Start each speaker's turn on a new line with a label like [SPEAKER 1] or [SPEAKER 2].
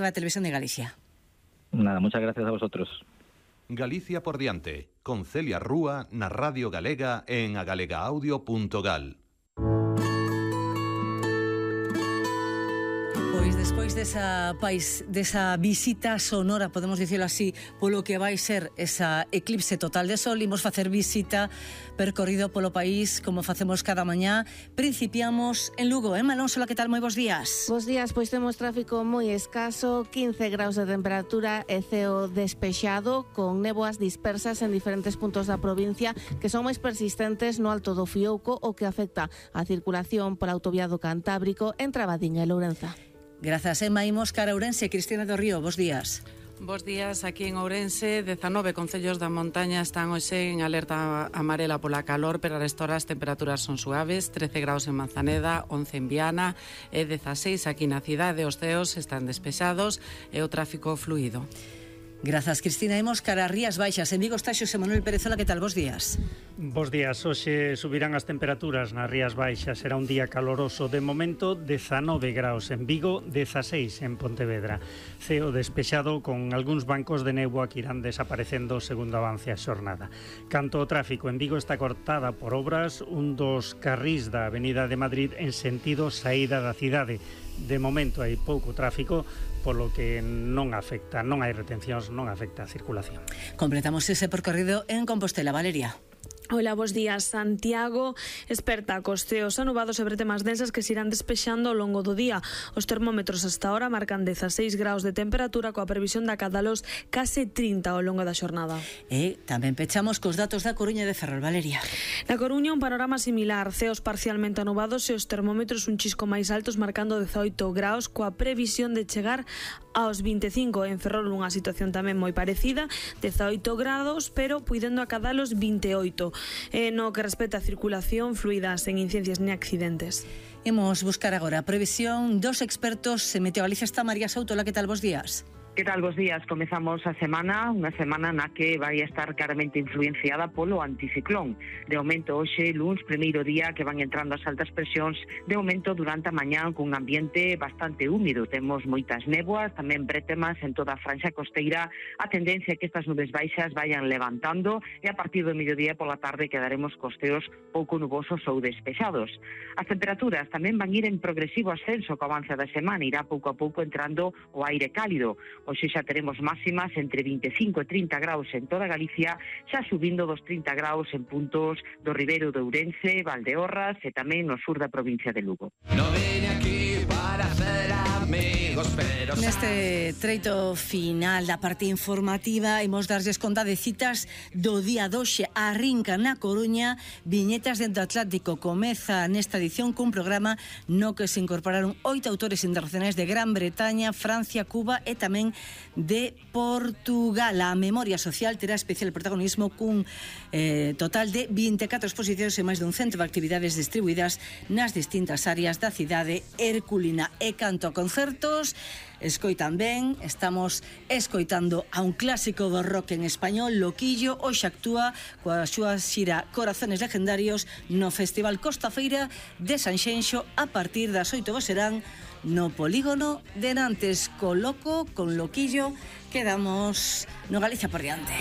[SPEAKER 1] La Televisión de Galicia.
[SPEAKER 2] Nada, muchas gracias a vosotros.
[SPEAKER 3] Galicia por diante, con Celia Rúa na Radio Galega en agalegaaudio.gal.
[SPEAKER 1] Pois despois desa visita sonora, podemos dicirlo así, polo que vai ser esa eclipse total de sol, imos facer visita percorrido polo país como facemos cada mañá. Principiamos en Lugo. Alonso, que tal? Moi bons días.
[SPEAKER 4] Bos días, pois temos tráfico moi escaso, 15 graus de temperatura e ceo despexado, con néboas dispersas en diferentes puntos da provincia que son máis persistentes no Alto do Fiouco, o que afecta a circulación por autoviado Cantábrico entre Abadiño e Lourenza.
[SPEAKER 1] Grazas, Emma. Imos cara a Ourense. Cristina do Río, bos días.
[SPEAKER 5] Bos días, aquí en Ourense, 19 concellos da montaña están hoxe en alerta amarela pola calor, pero a restora as temperaturas son suaves, 13 graus en Manzaneda, 11 en Viana e 16 aquí na cidade. Os ceos están despexados e o tráfico fluido.
[SPEAKER 1] Grazas, Cristina. Imos cara a Rías Baixas. En Vigo está Xosé Manuel Perezola, que tal? Bos días.
[SPEAKER 6] Bos días. Hoxe subirán as temperaturas nas Rías Baixas. Será un día caloroso. De momento, 19 graus en Vigo, 16 en Pontevedra. Ceo despexado con algúns bancos de néboa que irán desaparecendo segundo avance a xornada. Canto o tráfico en Vigo está cortada por obras un dos carrís da Avenida de Madrid en sentido saída da cidade. De momento hai pouco tráfico, polo que non hai retencións, non afecta a circulación.
[SPEAKER 1] Completamos ese percorrido en Compostela. Valeria.
[SPEAKER 7] Hola, bos días. Santiago esperta cos ceos anubados e bretemas densas que se irán despexando ao longo do día. Os termómetros hasta ahora marcan 16 graus de temperatura, coa previsión de acadalos case 30 ao longo da xornada.
[SPEAKER 1] E tamén pechamos cos datos da Coruña de Ferrol. Valeria.
[SPEAKER 7] Na Coruña un panorama similar, ceos parcialmente anubados e os termómetros un chisco máis altos marcando 18 graus, coa previsión de chegar aos 25. En Ferrol unha situación tamén moi parecida, 18 grados, pero puidendo acadalos 28. No que respecta a circulación fluida, sen incidencias ni accidentes.
[SPEAKER 1] Imos buscar agora a previsión dos expertos en Meteogalicia. Está María Soutola, que tal? Bos días.
[SPEAKER 8] Que tal, bos días? Comezamos a semana, unha semana na que vai estar claramente influenciada polo anticiclón. De momento, hoxe, luns, primeiro día que van entrando as altas presións, de momento durante a mañá cun ambiente bastante húmido. Temos moitas néboas, tamén bretemas en toda a franxa costeira. A tendencia é que estas nubes baixas vayan levantando e a partir do mediodía pola tarde quedaremos costeos pouco nubosos ou despexados. As temperaturas tamén van ir en progresivo ascenso co avance da semana, irá pouco a pouco entrando o aire cálido. Hoxe xa teremos máximas entre 25 e 30 graus en toda Galicia, xa subindo dos 30 graus en puntos do Ribeiro de Ourense, Valdeorras e tamén no sur da provincia de Lugo.
[SPEAKER 9] No vine aquí para hacer amigos, pero...
[SPEAKER 1] Neste treito final da parte informativa imos darlles conta de citas do día doxe. Arrinca na Coruña Viñetas dentro Atlántico. Comeza nesta edición cun programa no que se incorporaron 8 autores internacionais de Gran Bretaña, Francia, Cuba e tamén de Portugal. A memoria social terá especial protagonismo cun total de 24 exposicións e máis dun centro de actividades distribuídas nas distintas áreas da cidade herculina. E canto a concertos, escoitan ben, estamos escoitando a un clásico do rock en español, Loquillo. Hoxe actúa coa súa xira Corazones Legendarios no Festival Costa Feira de Sanxenxo a partir das 8 serán no Polígono de Nantes. Con Loquillo, quedamos no Galicia por diante.